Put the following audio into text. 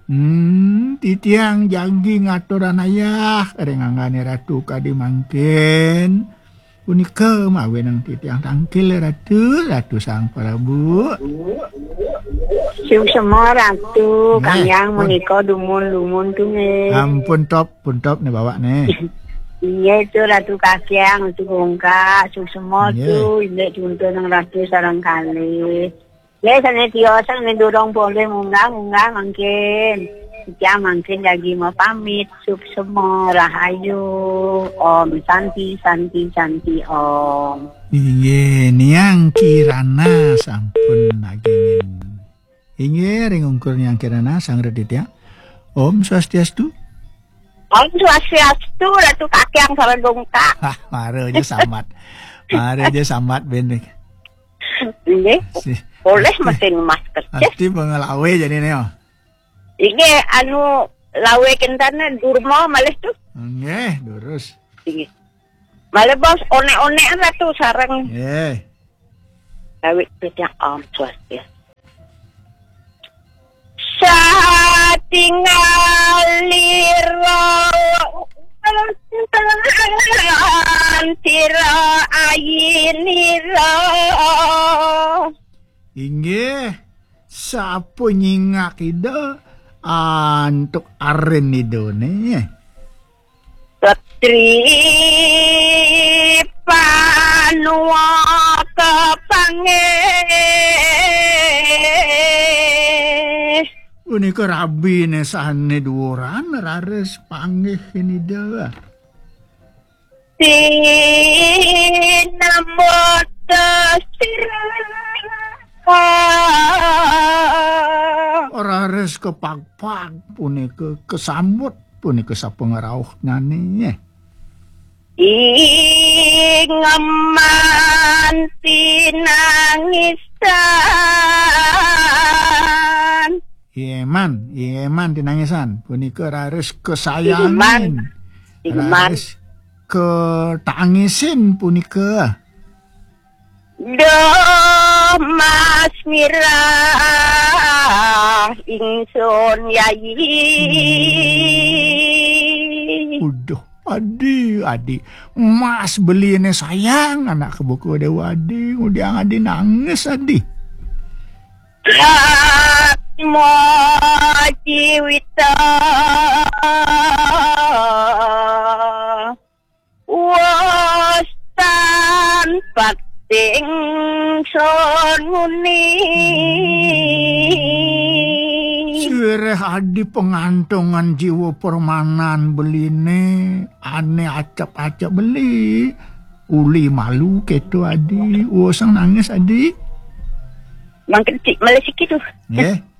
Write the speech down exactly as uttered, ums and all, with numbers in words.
Hmm, titiang jagi ngaturang ayah ring anggané Ratu kadi mangkin. Punika mawinan titiang tangkil Ratu, Ratu Sang Prabu. Suksma Ratu, nggih, Kang Hyang pun. Menika dumun-dumun tuh nggih. Ampun top, pun top nih bawa nih. Iya itu Ratu Kakang, Ratu Bongkak, suksma nggih. Tuh, indik tuntun nang Ratu sareng kalih. Ya, sané tiosan ning durung boleh munggah-munggah mangkin. Titiang mangkin jagi mapamit, suksma, rahayu. Om Santi, Santi, Santi, Om. Inggih, Niang Kirana sampun nagingin. Inggih, ring ungkur Niang Kirana, sang reditya. Om Swastiastu. Om Swastiastu, Ratu Kakang sareng Bongkak. Hah, mara aja samat. Mara aja samat, Ben. Nggih. Si-, boleh ati, mesin masker. Ati pangalawe jadiné, oh. Inggih, anu, lawe kentana durma malih tuh. Nggih, durus. Inggih. Malih bos, onek-onek Ratu sareng. Nggih. Lawe titiang Om Swastiastu. Satingalira tira ayinira. Inggih, sapa nyingak Ida antuk arin Idané? Retri panua kepanggih. Punika rabiné sané duuran raris panggih Ida. Sinambut sira. Raris kepagpag punika kesambut punika sapangrauhnyané. Ingeman tinangisan. Ingeman, ingeman tinangisan. Punika raris kesayangin. Ingeman. Ingeman. Raris ketangisin punika. Duh, Mas Mirah, ingsun yayi. Uduh, adi, adi. Mas beliné sayang, anak kebuka Déwa Adi. Ngudiang adi nangis, adi. Atma jiwita. Wes tan pating sun nguni. Sireh adi pangantungan jiwa permanan beliné, ané acep-acep beli. Uli malu kéto adi, usang nangis adi. Mangkin cik malih siki tuh. Nggih.